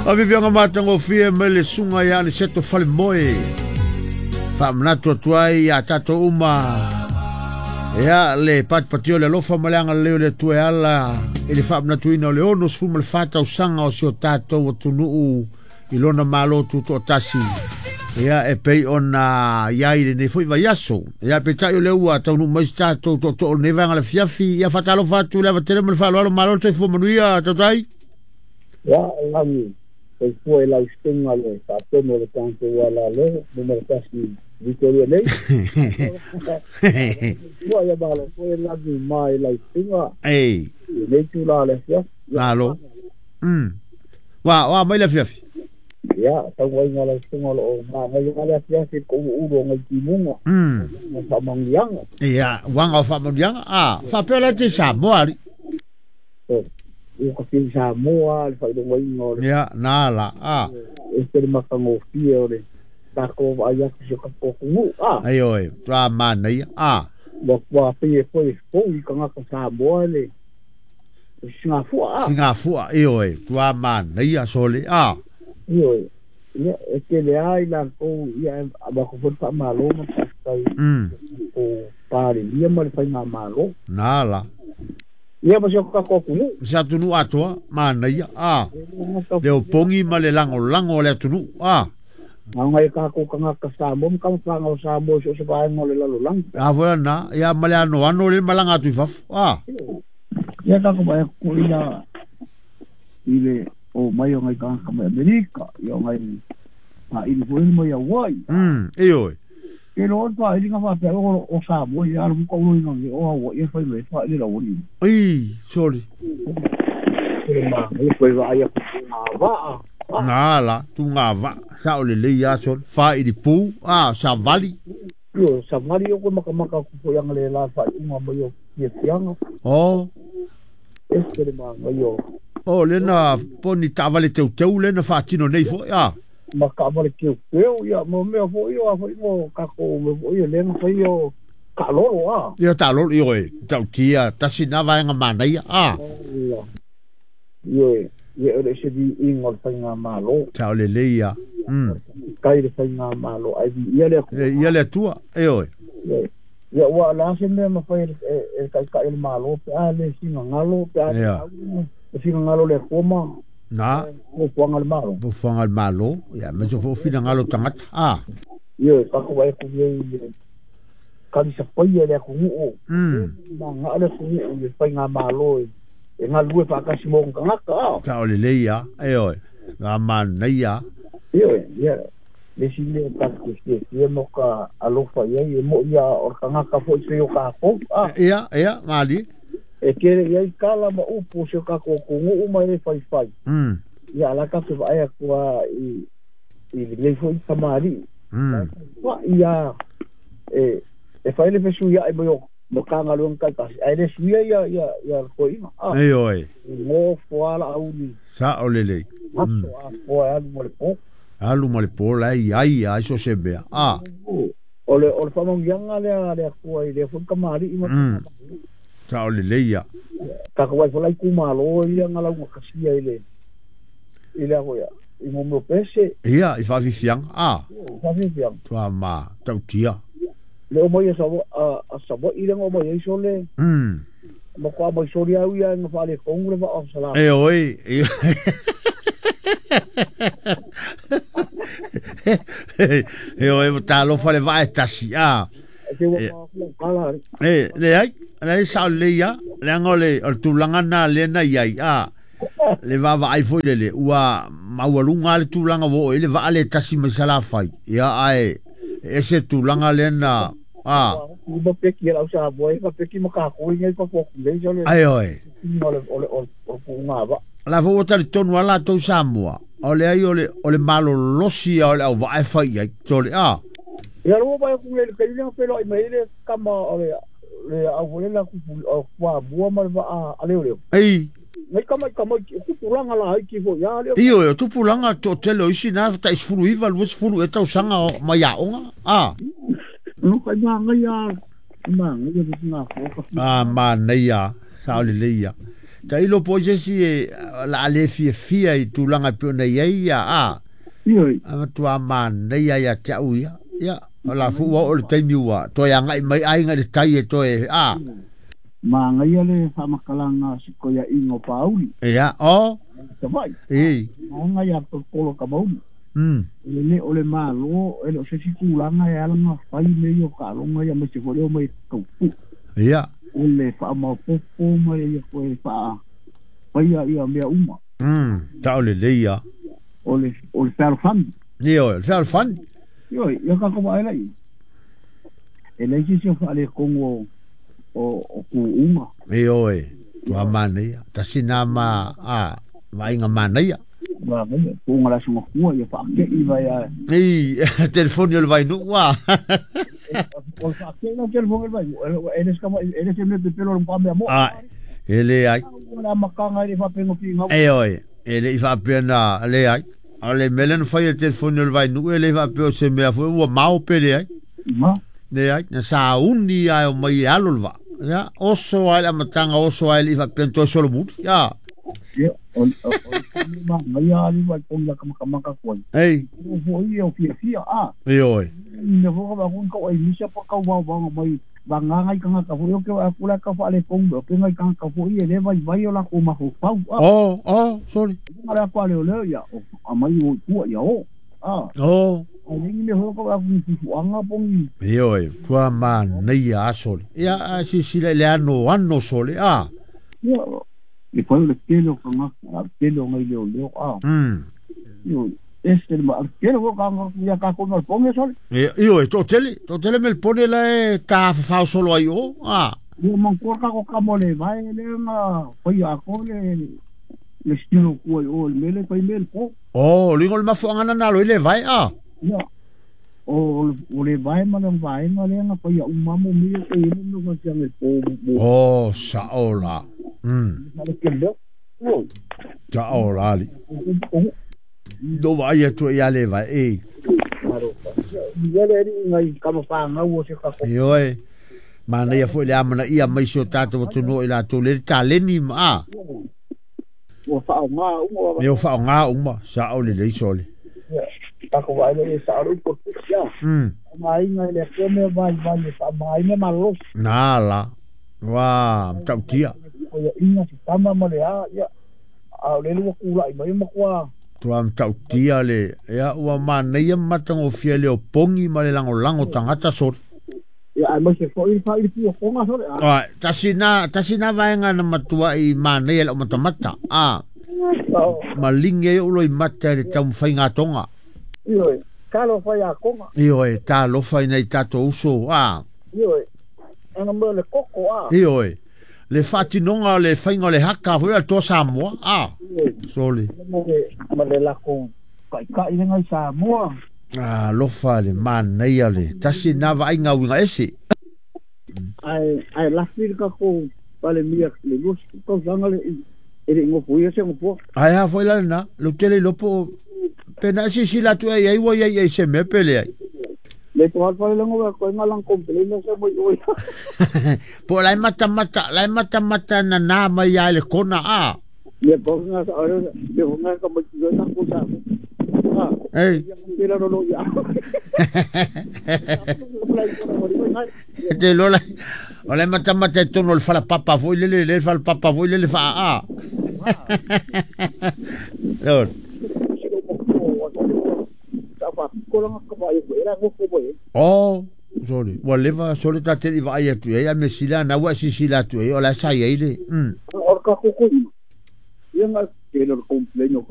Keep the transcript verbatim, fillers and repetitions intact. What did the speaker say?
Avivianga matagofie mai le suga ia Aniceto Falemoe. Faamanatu atu ai ia tatou uma ia le patipati o le alofa ma le agalelei o le Atua e ala i le faamanatuina o le ono sefulu ma le fa tausaga o si o tatou atunuu i lona malo tutoatasi ia e pei ona iai lenei foi vaiaso. Ia peitai o lea ua taunuu mai se tatou tootoo o lenei vaega le afiafi. Ia faatalofa atu le avatele ma le faaaloalo, malo le soifua manuia tautai. Ia lagi soifua i lau susuga le faatonu o le tatou ala leo numera tasi Victoria nei. Soifua ia malo foi lagi ma i lau susuga. Ei. Nei tula le afiafi. Malo. Mm. Wa wa mai le afiafi. Ia, tauaiga lau susuga o loo magaia le afiafi ko ulu o ngai timuga. Mm. Ma faamanuiaga. Ia, uaga o faamanuiaga. Ah, faapea la te Samoa ali. Ua ka fiu Samoa le faailogaina o le ia na la a e se le matagofie o le tatou vaai atu si o tatou atunuu a ai oe tua manaia a ua ua pei e foi fou i tagata Samoa le sigafua a sigafua e oe tua manaia sole a ioe ia e tele ai latou ia avatu foi le faamalo ma faafetai mm o Palemia ma le faigamalo na la ia ma si o tatou atunuu se atunuu atoa manaia a le opogi ma le lagolago o le atunuu a Ngai tatou tagata Samoa ma tamafaga o Samoa i so o se vaega o le lalolagi. A foi na ia ma le anoano le malaga atu i fafo a ia tatou vaai atu ia i le o mai o ngai tagata mai Amerika ia o ngai faaili foi mai Hawaii. Mm ioe Ke lo faailiga faapea o o Samoa ia alu muka uloina o Hawaii e fai mai faaili lauoli. Ai sorry. Ke ma ngai foi vaai atu ngā vaa. Na la tunga va sa o le lei a sol fa i pu a sa vali. Io sa vali o ko makamaka ku fo yang le la fa unga mai o ia fianga. O e se le ma ngai o o le na poni tavale teu teu le na faatino nei foi a ma ka vale teu teu ia mo mea foi o a foi mo ka ko me foi le na foi o ka lolo a ia ta lolo io e tau tia tasi na vaenga manaia a io ia o le se vi ingo le faiga malo ta o le leia mm kai le faiga malo ai ia le ia le atua e oe ia ua la se mea ma fai e kai kai le malo pe a le singa ngalo pe a le singa ngalo le koma na o fuanga le malo o fuanga le malo ia me so fo fina ngalo tangata a ia ka ko vai ku nei kanisa paia le atunuu mm ma nga le atunuu le faiga malo e galue faatasi mo tagata a ta o le leia e oe nga manaia ioe ia le si mea tatou fiafia mo ka alofa iai e moʻi ia o le tagata foʻi pei o kakou a ia ia mali e kele iai kala ma upu o si o tatou atunuu ma e faifai mm ia ala tatou vaai atu a i i lenei foʻi kamaliʻi mm ia e e fai le fesuiaʻi mai o ma kagaluega taitasi ae le suia ia ia ia le toeaina a ai oe gofo a laauli sa o lelei aso afoa e alu ma le po alu ma le po la ai ai ai so se mea a o le o le faamanuiaga lea le Atua i lea foi kamaliʻi ma sa o lelei ia tatou ai foi la itumalo ia na lauga kasia i le i le afoia i mo mea o pese ia i faafifiaga a faafifiaga tua ma tautia le o mai a a Savaii le o mai ai sole mm ma koa mai soli au ia nga faaletonu le vaa o Salafai e oe e oe talofa le vaa e tasi a e leai leai sao lelei ia leaga o le o le tulaga na lea na iai a le vaavaai foi lele ua maualuga le tulaga ua oo i le vaa le tasi mai Salafai ia ae ese tulaga lea na a ma peki lau Samoa e peki ma kakou ngai pa foku nei sole ai oe o le o le o puʻuga vaa la fo ua talitonu a latou Samoa o le ai o le o le malolosi a o le auvaa e fai ai tole a ia lua vai ku le kai le pelo mai le kama o le le au le la ku kuamua ma le vaa a leo leo ei ngai kama kama tupulaga la ai ki foi ia leo ioe o tupulaga toatele o isi na taʻi iva luasefulu e tausaga mai aoga a no kai magai a magai a a manaia sa o lelei ia Ta ilo po se si e la le fia fia i tulaga pe ona iai ia a. Ioe. A matua manaia ia te au ia. Ia, o la fu ua o le taimi ua toe agai mai aiga i le tai e toe a. Magaia le faamatalaga sikoiaiga o Pauli. Ia, o. Savaii. E. Aga ia tolotolo ka mauli. Mm. E le o le malo, e le o se isi tulaga e ala ona fai mea ia o taaloga ia aemaise foi le o mai taupu. Ia. O le faamaopoopo ma ia toe faafaia ia mea uma. Mm, sao lelei ia. O le o le fealofani. Ioe, o le fealofani. Ioe, ia tatou vaai laia. E leai se isi o faaletonu o o o tuuga. Ioe, tua manaia. Tasi na ma a vaaiga manaia. Manaia, tuuga le Aso Gafua ia faatei mai a. Ei, telefoni o le Vainuu a. O le faatei la telefoni o le Vainuu, e le se e le se mea pepelo o le matua mea mo'o. A, e leai. O le amataga e le i faapea na finau. Ioe, e le i faapea na leai. O le mea lea na fai e le telefoni o le Vainuu e le i faapea o se mea foi ua mao pe leai. Ma. Leai, na sauni lava e omai e alo le vaa. Ia, oso lava i le amataga, oso lava e le i faapea na toe solomuli. Ia. Ia, o le manaia lava le togi matamatamata atu ai. Ei. O foi o fiafia, a. Ioe. Mea foi ka vaai atu ai misa pa kau vaovaoga mai vagana i tagata foi o ke vaai atu la ka faaletonu mea o ke nai tagata foi e le vaivai o latou mafaufau a. Oh, oh, sorry. Le atu a leoleo ia o aumai o i tua ia o. A. Oh. Ae leai ni mea foi o ka vaai atu ni fufuaga po o ni. Ioe, tua manaia a sole. Ia, a silasila i le anoano sole, a. Ia, e fai o le tele o tagata, a o le tele o nai leoleo, a. Mm. Ioe, ese le ma, tele foi o tagata ia tatou ma le pone sole. Ia, ioe, toatele, toatele Melpone la e tafafao solo ai o, a. Ia manatua le tatou tama o le vae lea na faia atoa le le stilo tua i o i le mea lea e fai mea i le po. Oh, ligo le mafuaaga na nalo i le vae, a. Ia, o o le vae ma lona vaega lea na faia uma mo mea ia e i ai le mea o le po mo. Oh, sao la. Mm. Sao la ali. No vaai atu ia le vae, e. Ioe, manaia foi le amanaia mai si o tatou atunuu i latou le taleni ma a. Ua faaaoga uma. Ua faaaoga uma, sao lelei sole. Tatou vaai lea i sao le upu o le Mm. Faamaiga i le Atua mea vaivai e faamagaina malolosi. Na la, ua matautia. Koiaʻiga se tama ma le a, ia, a o lele ua tulai mai matua. Tua matautia le, ia, ua manaia ma matagofie le opogi ma le lagolago tagata sole. Ia, aemaise foi le faaili puapoga sole. A, tasi na, tasi na vaega na matuai manaia i lau matamata. A, maligi ai ou loimata i le taumafaiga atoga. Ioe, talofa ia Toga. Ioe, talofa i nai tatou uso, a. Ioe, ana mea o le koko, a. Ioe, le faatinoga o le faiga o le haka foi o le Toa Samoa, a. Ioe. Sole. Ma le, ma le latou taitai lena i Samoa. Alofa le manaia le tasi na vaaiga uiga ese. Ae, ae lafi le tatou Palemia le luasefulu tausaga le e le i nofoia se nofoa. Ae a foi la lena, lou tele iloa po o pe na e silasila atu ea i ai ua i ai i ai se mea pe leai. Le to hal fale lengo ko nga lang complain se mo oi. Po o la e matamata, la e matamata nana mai ia i le kona a. Ia ko nga sa ore, ia ko nga ka mo na ko sa. Ah. Ei. Ia ko la lo ia. Te lola. O le matamata i totonu o le falapapa foi lele, le falapapa foi lele faa a. Lord. Oh, sorry. Ua leva sole ta te i vaai atu i ai, a me sila na ua sisila atu i ai, o la sa i ai le. Mm. O ka koko. Ia nga ke lo complain o